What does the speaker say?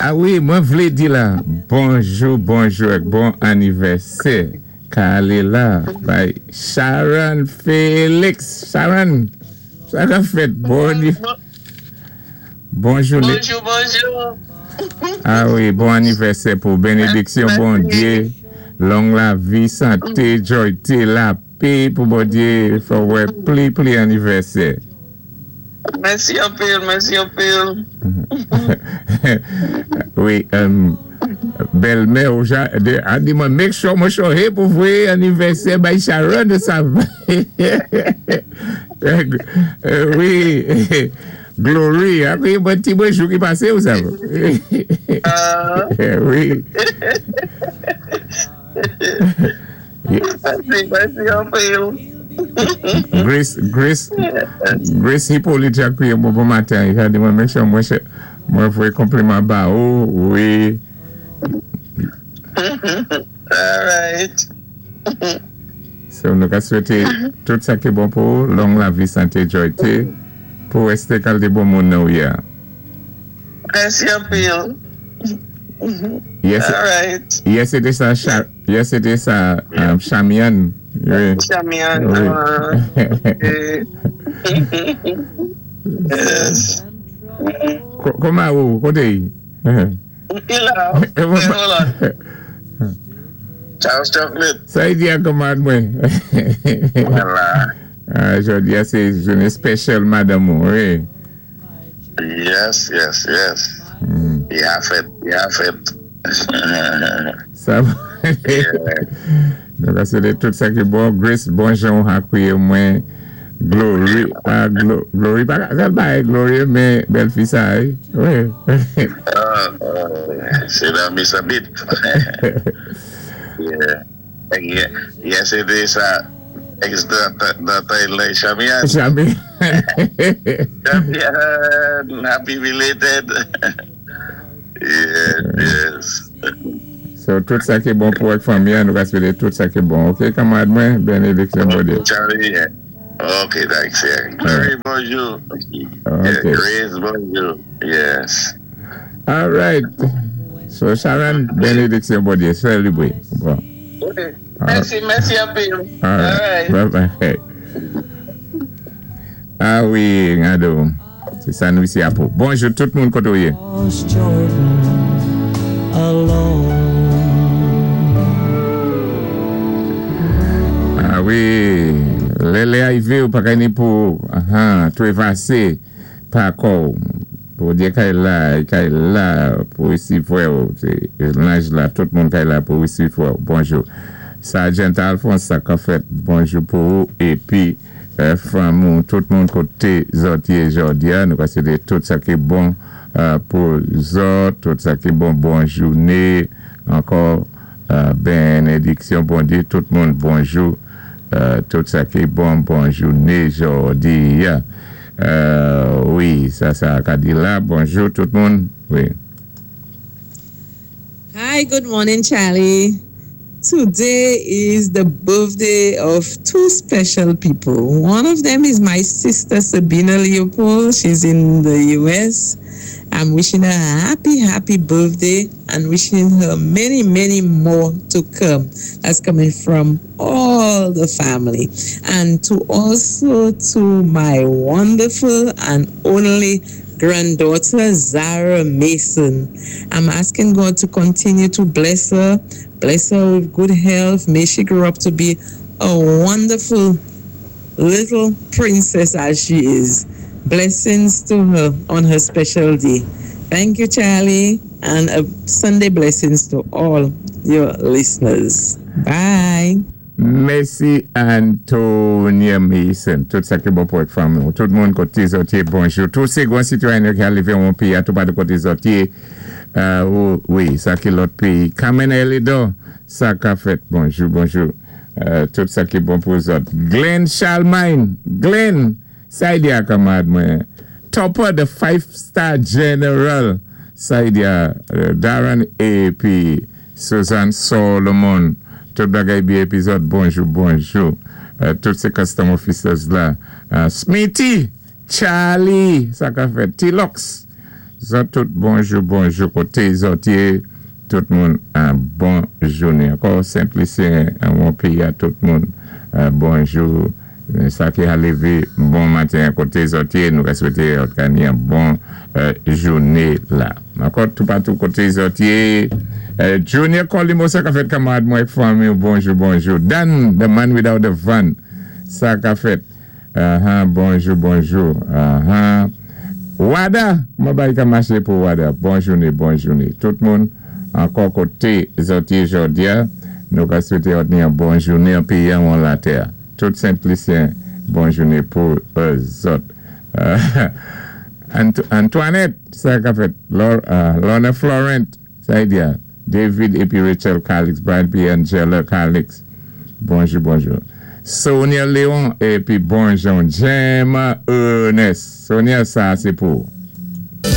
A wi, mwen vlé di la, bonjou, bonjou èk bon anivèsè ka alé la bay Sharon Felix. Sharon, sa ka fèt? Bon, bon jouné. Bonjou, bonjou. A wi, bon anivèsè pou benediksyon Bondyé, long lavi, santé, jòyté, lapé pou Bondyé fè w wè pli pli anivèsè. Mèsi anpil, mèsi anpil. Wi, bèlmè ou ja, a di mwen make sure mwen chòhe pou voyé anivèsè bay Sharon sa. Wi, Glory, a wi mwen ti mwen jou ki pasé ou sa. Wi. Mèsi, mèsi anpil. Grace, Grace, Grace Hippolyte a kwiyé mwen bon maten, li ka di mwen make sure mwen chè, mwen voyé konpliman ba ou, wi. All right. So nou ka swété tout sa ki bon pou ou, long lavi, santé, jòyté, pou résté kalité bon moun nan ou yé a. Mèsi anpil. Yè se, All right. yè sé té sa cha, yè sé té sa Chamian, wi. Chamian, Wi. Ok. Yes. Kòman ou, koté y? Mwen la, mwen la. Charles Chocolate. Sa y di a kòmand mwen? Mwen la. Ah, jodi a se jounen special madanm ou, wi. Yes. Ya fèt, ya fèt. Sa Nou ka swete tout sa ki bon. Grace, bon jan ou akwiye mwen. Glory, ah, Glory, pa ka bay Glory, men bèl fi sa, eh? Wi. Se nan mi sa bit. Yeah. Yeah, se de sa ex dan lè Chamian. Chamian. Chamian, happy belated. Yes. So, tout sa ki bon pou ak fanmi, nou ka swete tout sa ki bon. Ok, kanmarad mwen, benediksyon Bondye. Charlie, yeah. Ok, thanks, yeah. Glory, bonjou. Yeah, Grace, bonjou. Yes. All right. So, Sharon, benediksyon Bondye. Sè libre. Bon. Mèsi, mèsi anpil. All right. Bye bye. A wi, Ngado. Sé sa nou isi a pou. Bonjou tout moun koté ou yé. Jordan alone. A wi, lè lè arivé ou pa ka ni pou ahan, twévasé pa kò ou. Bondye kay la, kay la pou resivwè ou. Sé lanj la, tout moun kay la pou resivwè ou. Bonjou. Sergeant Alphonse, sa ka fèt. Bonjou pou ou épi fanmi ou, tout moun koté zòt yé jòdi a. Nou ka swété tout sa ki bon pou zòt, tout sa ki bon, bon jouné. Ankò benediksyon Bondye, tout moun bonjou. Tout sa ki bon, bon jouné jòdi a. Wi, sa sa ka di la. Bonjou tout moun. Wi. Hi, good morning, Charlie. Today is the birthday of two special people. One of them is my sister Sabina Leopold. She's in the US. I'm wishing her a happy, happy birthday and wishing her many, many more to come. That's coming from all the family. And to also to my wonderful and only granddaughter, Zara Mason. I'm asking God to continue to bless her, bless her with good health. May she grow up to be a wonderful little princess as she is. Blessings to her on her special day. Thank you, Charlie, and a Sunday blessings to all your listeners. Bye. Mèsi Antonia Mason. Tout sa ki bon pou ak fanmi. Tout moun koté zòt yé, bonjou. Tout sé gwan sitwayen ki arivé yon péyi a tou pa de koté zòt yé. Wi, sa ki lòt péyi. Carmen Elidor, sa ka fèt. Bonjou, bonjou. Tout sa ki bon pou zòt. Glenn Charlemagne, Glenn, sa y di a kanmarad mwen. Topper the Five Star General, sa y di a Darren épi Suzanne Solomon, tout bagay byen épi zòt, bonjou, bonjou. Tout sé custom officers la. Smithy, Charlie, sa ka fèt. T-Lux, Zòt tout bonjou bonjou koté zòt yé, tout moun bon jounen. Ankò Sent Lisyen anwon péyi a, tout moun bonjou. Sa ki a lévé bon maten an koté zòt yé, nou ka swété zòt ka ni an bon jouné la. Ankò toupatou koté zòt yé. Junior Colimo, sa ka fèt, kanmarad mwen ak fanmi ou, bonjou bonjou. Dan the man without the van, sa ka fèt? Ahan, bonjou bonjou. Ahan. Wada, kouman bagay ka maché pou Wada? Bon jouné, bon jouné. Tout moun ankò koté zòt yé jòdi a, nou ka swété zòt ni an bon jouné an péyi an ou latè a. Tout Sent Lisyen, bon jouné pou zòt. Antoinette, sa ka fèt? Lorna Florent, sa y di a? David épi Rachel Calix, Brian épi Angela Calix, bonjou bonjou. Sonia Léon épi bonjon Jem Ernest. Sonia, sa sé pou ou.